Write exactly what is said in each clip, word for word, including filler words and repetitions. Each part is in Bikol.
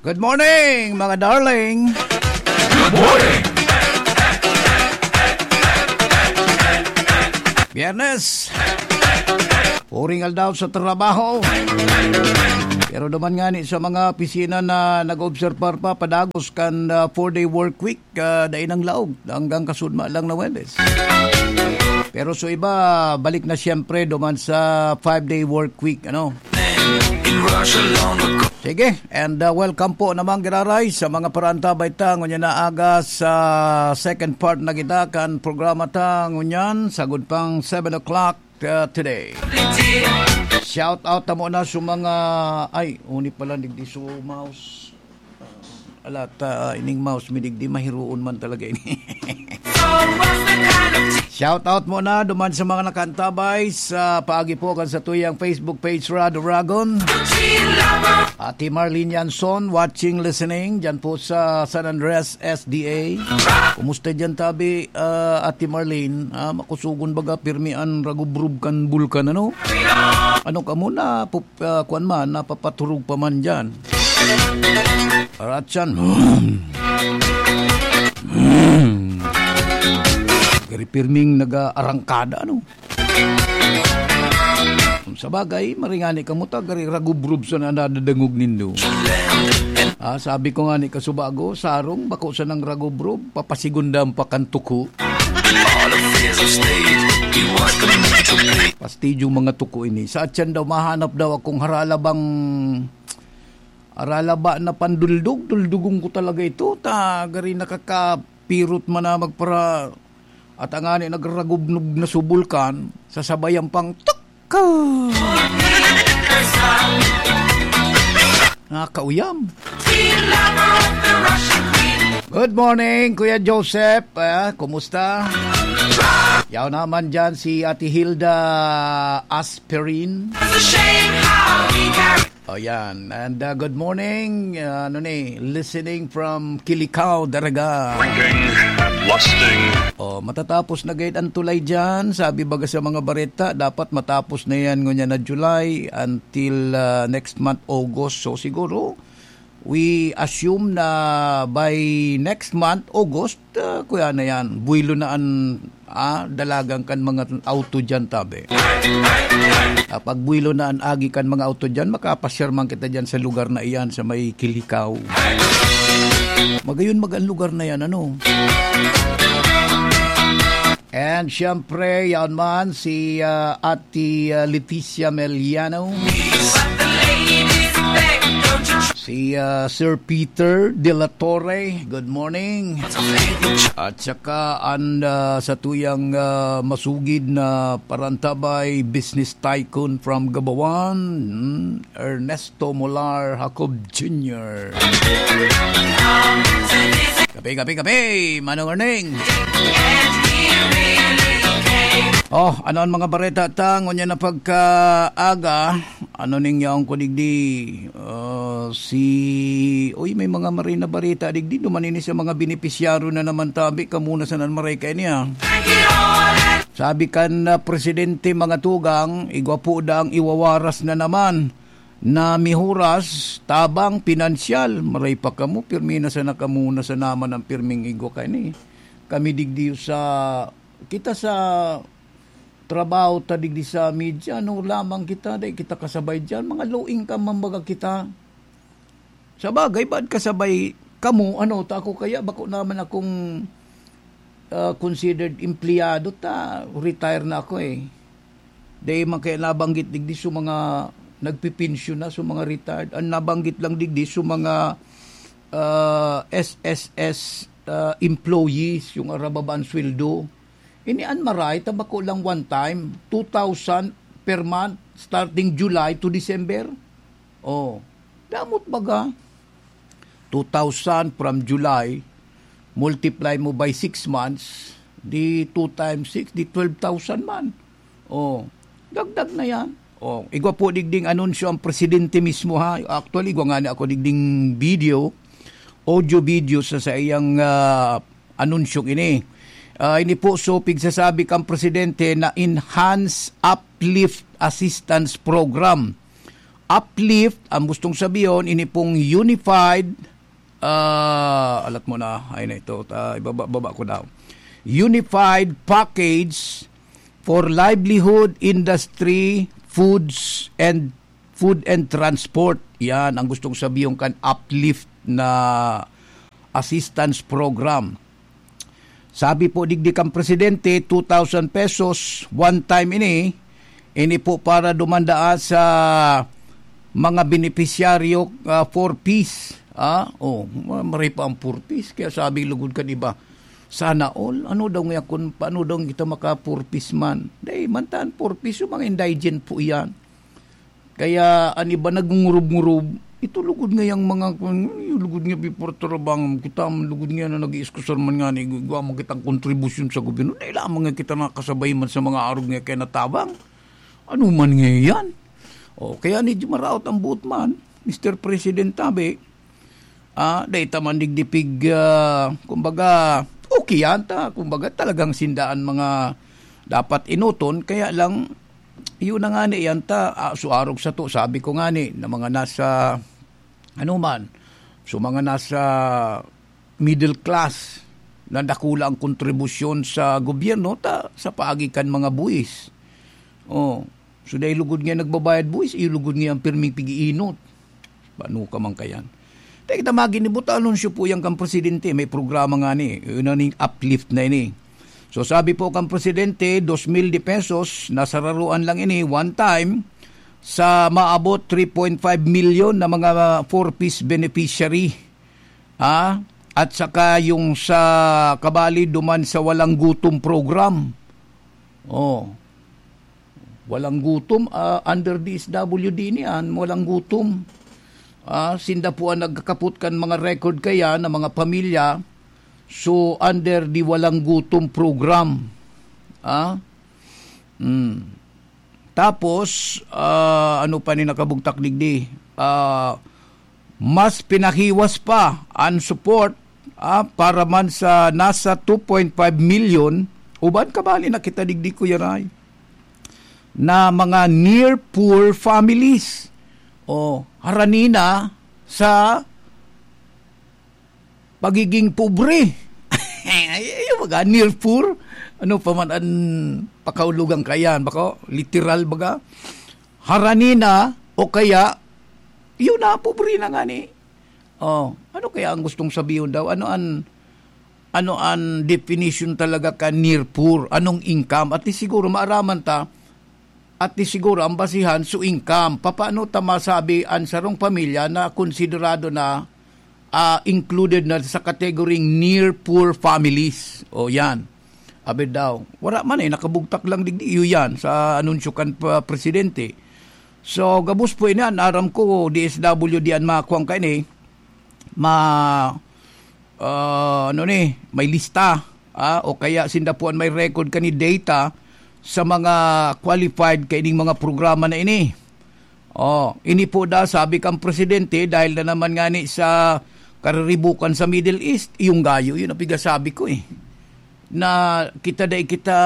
Good morning, mga darling. Good morning. Biyernes. Puring aldaw sa trabaho. Pero duman nga ni sa mga opisina na nag-obserbar pa, padagos kan, ah, four-day work week, ah, dai nang laog. Hanggang kasudma lang na Huwebes. Pero so iba, balik na siyempre duman sa five-day work week, ano? Sige, and, uh, welcome po naman, giraray, sa mga parantabay ta ngunyan na aga sa second part na kita kan programa ta ngunyan, sagod pang seven o'clock, uh, today. Shout out ta muna sa mga, ay, uni pala, digdi sa mouse. Ala ta, ining mouse mi digdi, mahiroon man talaga ini. Shout out muna duman sa mga nakaantabay sa paagi po kan satuyang Facebook page, Rado Ragon. Ate Marlene Yanson, watching, listening, dyan po sa San Andres, S D A. Kumusta dyan, tabi, ah, Ate Marlene? Ah, makusugon baga, pirmi an ragubrub kan bulkan, ano? Ano ka muna, pup-, ah, kuwan man, napapaturog pa man dyan. Aratsan. Gari pirming nag-aarangkada, ano? Kung sa bagay, maringani ka mo ta, gari ragubrub sa nadadangog nindo. Ah, sabi ko nga ni kasubago, sarong, bako sa nang ragubrub, papasigundang pakantuko. All the fears of state, you watch them to play. Pastidyo mga tuko ini. Sa atyan daw, mahanap daw akong haralabang, haralaba na panduldog. Duldugon ko talaga ito. Ta, gari nakakapirot man na magpara-, at ang ani nagragubnog na subulkan, sasabayan pang tuk! Nakakauyam. Good morning, Kuya Joseph. Ah, kumusta? Yaw naman dyan si Ate Hilda Asperin. O yan. And, uh, good morning. Uh, ano ni? Listening from Kilikao, Daraga. Drinking, lusting. Oh, matatapos na gayud ang tulay dyan. Sabi baga sa mga bareta, dapat matapos na yan ngunyan na July until, uh, next month, August. So, siguro, we assume na by next month, August, ah, kuya na yan, buwelo na an, ah, dalagan kan mga auto dyan, tabi. Ah, pag buwelo na an agi kan mga auto dyan, makapasyar man kita dyan sa lugar na iyan, sa may Kilikaw. Magayon mag-, ang lugar na yan, ano? And siyempre, yan man, si, ah, Ate, ah, Leticia Meliano. Si, ah, Sir Peter de la Torre, good morning. At saka an, ah, satuyang, ah, masugid na parantabay, business tycoon from Gabawan, hmm, Ernesto Molar Jacob Junior. Kape, kape, kape, Manong Erning. Oh, ano ang mga bareta ta ngunyan na pagkaaga? Ano ning yaon ko digdi? Ah, si, uy, may mga maray na bareta digdi. Duman ini sa mga benepisyaryo na naman tabi. Kamuna sa nan maray kaini, ah. Sabi kan, ah, presidente, mga tugang, igwa po daang iwawaras na naman na mihuras, tabang, pinansyal. Maray pa kamo, pirmi na sana kamo na sa naman ang pirming igwa kaini. Kami digdi sa, kita sa trabaho ta digdi sa media, ano lamang kita, dai kita kasabay diyan. Mga low income man baga kita. Sa bagay, baad kasabay kamo, ano, ta ako kaya, bako naman akong, ah, considered empleyado ta, retire na ako eh. Dai man kaya nabanggit digdi sa mga nagpipensyon na, sa mga retired. Ang nabanggit lang digdi sa mga, ah, S S S, ah, employees, yung arababaan sweldo. Ini an maray, ta bako lang one time, two thousand per month, starting July to December. Oh, damot baga. Two thousand from July, multiply mo by six months, di two times six, di twelve thousand man. Oh, dagdag na yan. Oh, igwa po digding anunsyo ang presidente mismo, ha. Actually, igwa nga na ako digding video, audio video sa, sa iyang, ah, anunsyong ini. Ah, ini po, so, pigsasabi kang presidente na Enhanced Uplift Assistance Program. uplift, ang gustong sabihin, ini pong unified, ah, alat mo na, ay na ito, ah, ibaba-baba ko daw. Unified package for livelihood, industry, foods, and food and transport. Yan ang gustong sabihin kan uplift na assistance program. Sabi po digdi kan presidente, two thousand pesos, one time ini. Ini po para dumanda sa mga benepisyaryo, ah, four Ps. Ah, oh, ma-, maray pa ang four Ps. Kaya sabi lugod kan iba, "Sana all." Ano daw nga kun, paano daw kita maka four Ps man? Dai, mantan four Ps, yung mga indigent po yan. Kaya an iba nagngurub-ngurub, ito lugod nga yang mga, yung lugod nga before tarabang, kita, lugod nga na nag-iiskusar man nga ni, igwa man kitang kontribusyon sa gobyerno. Dai lamang nga kita nakasabay man sa mga arog nga kaya natabang. Ano man nga yan? O, kaya ni maraot ang buot man, Mister President, tabi, ah, dai ta man digdipig, ah, kumbaga, okay yan ta. Kumbaga, talagang sindaan mga dapat inoton. Kaya lang, yun na nga ni yan ta, ah, so arog sato, sabi ko nga ni, na mga nasa, ano man, so mga nasa middle class, na dakula ang kontribusyon sa gobyerno, ta, sa paagi kan mga buwis. Oh, so dai lugod nga nagbabayad buwis, iyo lugod nga ang pirming pig-iinot. Paano ka man kayan? Teka, ta, maginibo ta, anunsyo po yan kan presidente. May programa nga ni, yun na ning uplift na ini. So, sabi po kan presidente, dos mil de pesos, nasararuan lang ini, one time, sa maabot three point five million na mga four Ps beneficiary. Ah, at saka yung sa kabali duman sa Walang Gutom program. Oh. Walang Gutom, ah, under D S W D niyan, Walang Gutom. Ah, sinda po ang nagkakapot kan mga record kaya ng mga pamilya. So, under the Walang Gutom program. Ah? Hmm. Tapos, ah, ano pa ni nakabugtak digdi? Ah, mas pinahiwas pa ang support, ah, para man sa nasa two point five million, uban kabali na kita digdi, Kuya Ray, na mga near poor families. O, harani na sa pagiging pobre. Ay, ay, baga, near poor. Ano pa man ang pakaulogan kayan? Bako, literal baga. Harani na o kaya, yun na, pobre na nga ni. Oh, ano kaya ang gustong sabihin daw? Ano an, ano an definition talaga ka near poor? Anong income? At least siguro maaraman ta, at least siguro ang basihan so income. Papaano ta masabi ang sarong pamilya na konsiderado na, ah, included na sa category near poor families? O yan. Abi daw. Wala man eh, nakabugtak lang digdi. Iyo yan sa anunsyo kan pa-, presidente. So, gabos po ini, an aram ko, D S W D an makuha kaini, ma-, ah, ano ni, may lista, ah, o kaya sinda po an may record kani data sa mga qualified kaining mga programa na ini. Oh, ini po da, sabi kang presidente, dahil na naman nga ni sa kariribukan sa Middle East, yung gayo, yun ang pigasabi ko eh. Na kita dai kita,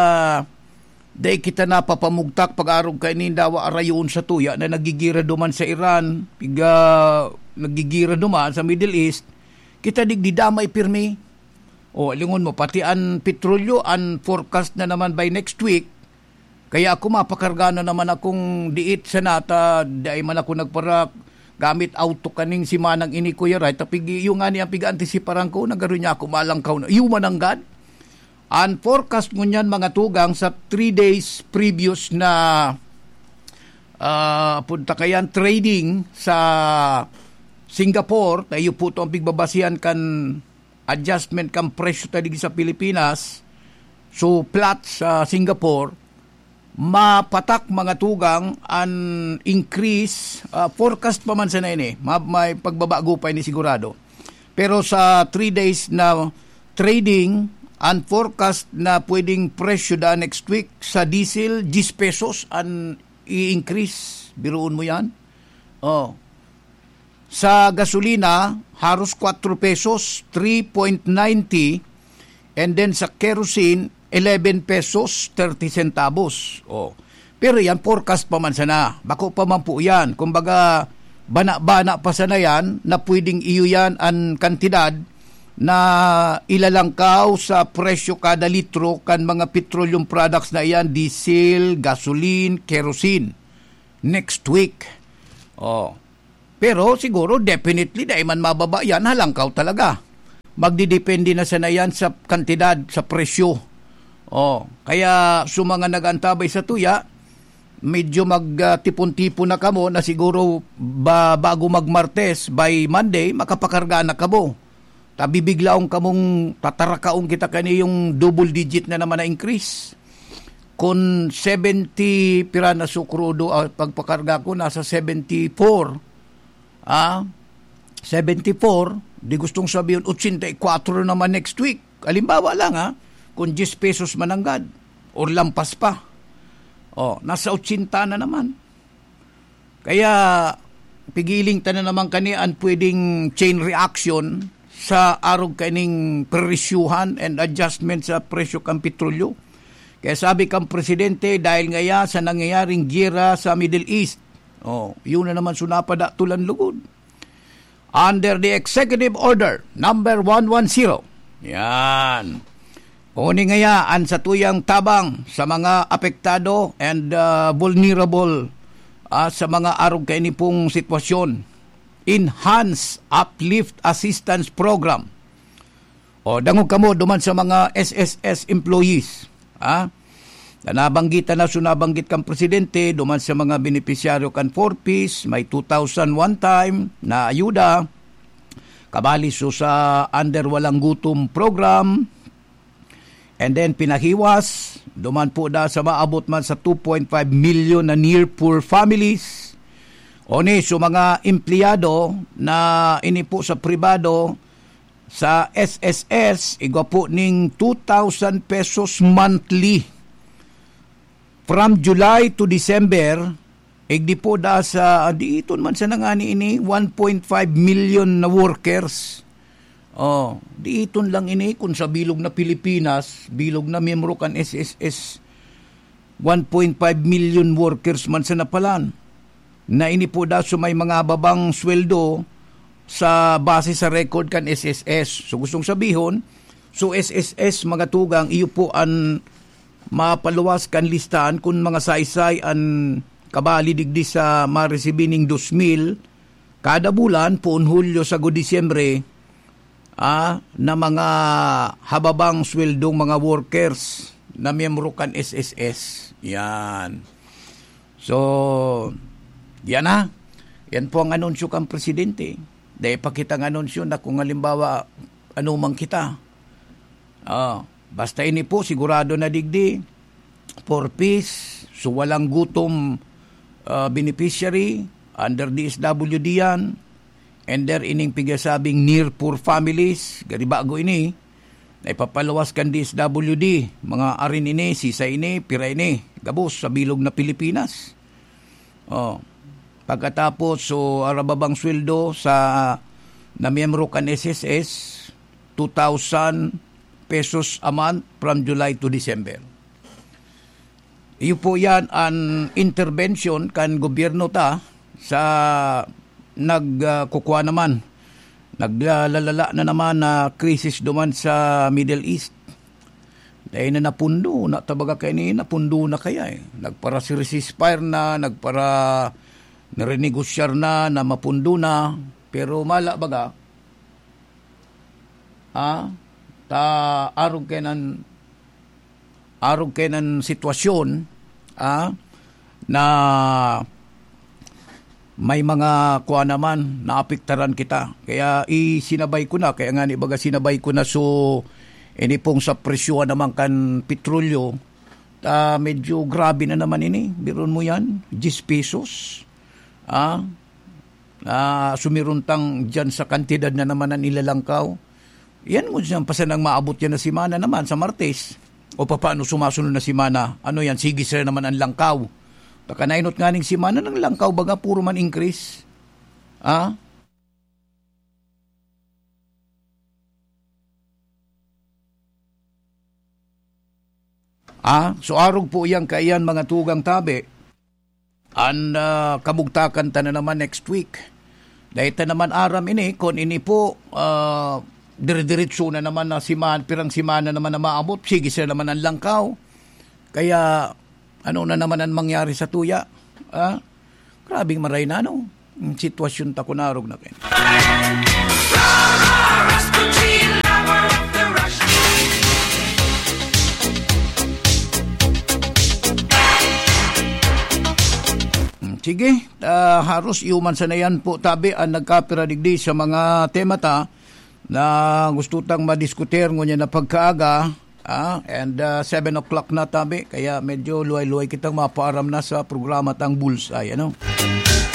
dai kita napapamugtak pag-arog kaining dawa arayon sa tuya na nagigira duman sa Iran, piga, nagigira duman sa Middle East, kita digdi damay pirmi. O, lingon mo, pati an petrolyo, an forecast na naman by next week, kaya ako mapakarga na naman akong diit sa nata, dai man ako nagpara gamit auto kaning simanang ini, Kuya Ray, tapig iyo nga ni ang piga-antisiparan ko, nagaro niya ako malangkaw na. Iyo mananggad. An forecast ngunyan, mga tugang, sa three days previous na, ah, punta kayan trading sa Singapore, tayo po to ang pigbabasihan kan adjustment kan presyo ta digdi sa Pilipinas, so flat sa Singapore, mapatak, mga tugang, an increase, ah, forecast pa man sana ini, ma-, may pagbabago pa ini sigurado. Pero sa three days na trading, an forecast na pwedeng presyo da next week sa diesel, diyes pesos an i-increase. Biruon mo yan? Oh. Sa gasolina, haros kwatro pesos, three point ninety, and then sa kerosene, eleven pesos, thirty centavos. Oh. Pero yan, forecast pa man sana. Bako pa man po yan. Kumbaga, bana-bana pa sana yan na pwedeng iyo yan an kantidad na ilalangkaw sa presyo kada litro kan mga petroleum products na iyan, diesel, gasoline, kerosene, next week. Oh. Pero siguro, definitely, dai man mababa yan, halangkaw talaga. Magdidepende na sana yan sa kantidad, sa presyo. Oh, kaya sa mga nag-antabay sa tuya, medyo mag, ah, tipon-tipon na kamo na siguro ba, bago mag-Martes, by Monday, makapakarga na kamo. Tabibiglaon kamong tatarakaon kita kani yung double digit na naman na increase. Kun seventy pira na sukrudo, ah, pagpakarga ko, nasa seventy-four. Ah, seventy-four, di gustong sabihin, ochenta y cuatro naman next week. Halimbawa lang, ha, kung diyes pesos mananggad, or lampas pa. Oh, nasa ochenta na naman. Kaya, pigiling ta na naman kani an pwedeng chain reaction sa arog kaining presyuhan and adjustment sa presyo kan petrolyo. Kaya sabi kan presidente, dahil ngaya sa nangyayaring giyera sa Middle East, oh, yun na naman, sunapa da tulan lugod. Under the Executive Order number one one zero. Yan. Uni ngaya an satuyang tabang sa mga apektado and, ah, vulnerable, ah, sa mga arog kaini pong sitwasyon. Enhanced Uplift Assistance Program. O, dangog kamo duman sa mga S S S employees, ha? Na nabanggit na, so nabanggit kan presidente, duman sa mga benepisyaryo kan four Ps, may two thousand one time na ayuda, kabali so sa under Walang Gutom program, and then pinahiwas, duman po da sa maabot man sa two point five million na near poor families. Oni, so mga empleyado na ini po sa pribado, sa S S S, igwa po ning two thousand pesos monthly. From July to December, igdi po da sa, ah, diiton man sa nangani ini, one point five million na workers. Oh, diiton lang ini kung sa bilog na Pilipinas, bilog na miyembro kan S S S, one point five million workers man sa napalan, na ini po da so may mga babang sweldo sa base sa record kan S S S. So, gustong sabihon, so S S S, mga tugang, iyo po an mapaluwas kan listahan kun mga saysay an kabali digdi sa maresibi ning dos mil kada bulan, poon Hulyo sagod Disyembre, ah, na mga hababang sweldong mga workers na miyembro kan S S S. Yan. So, yan na. Yan po ang anunsyo kan presidente. Dai pa kitang anunsyo na kung halimbawa, ano man kita. Ah, basta ini po, sigurado na digdi, four Ps, so Walang Gutom, ah, beneficiary, under D S W D yan, and there ining pigasabing near poor families, gari bago ini, na ipapaluwas kan D S W D, mga arin ini, sisa ini, pira ini, gabos sa bilog na Pilipinas. Oh, pagkatapos, so, arababang sweldo sa na miyembro kan S S S, two thousand pesos a month from July to December. Iyo po yan an intervention kan gobyerno ta sa nag, ah, kukwa naman, naglalala na naman na krisis duman sa Middle East. Dai na napundo, na tabaga kaini, napundo na kaya eh. Nagpara ceasefire na, nagpara narenegosyar na, na mapundo na. Pero mala baga, ah, ta arog kainan, arog kainan sitwasyon, ah, na may mga kuha naman, naapektaran kita. Kaya isinabay ko na, kaya nga ni baga sinabay ko na, so, ini pong sa presyo naman kan petrolyo, ta medyo grabe na naman ini. Biruon mo yan, diyes pesos. Ah, ah, sumiruntang dyan sa kantidad na naman ang ilalangkaw. Yan mo dyan, pasan ang maabot yan na semana naman sa Martes. O papaano sumasunod na semana? Ano yan, sige sila naman ang langkaw. Taka nainot nga ning semana ng langkaw, baga puro man increase. Ah? Ah, so arog po iyang kaiyan mga tugang tabi, An, ah, kabugtakan ta na naman next week. Dahil ta naman aram ini, kun ini po, ah, dire-diretso na naman na siman-, pirang simana naman na maabot, sige sila naman ang langkaw. Kaya, ano na naman ang mangyari sa tuya? Ah? Grabing maray na, no? Ang sitwasyon ta kunarog na kayo. Hmm, sige, ah, haros iyo man sana yan po, tabi, ang nagkapira digdi sa mga tema ta na gusto tang madiskutir ngunyan na pagkaaga, ah, and, ah, seven o'clock na, tabi, kaya medyo luway-luway kitang mapaaram na sa programa tang Bullseye, ano?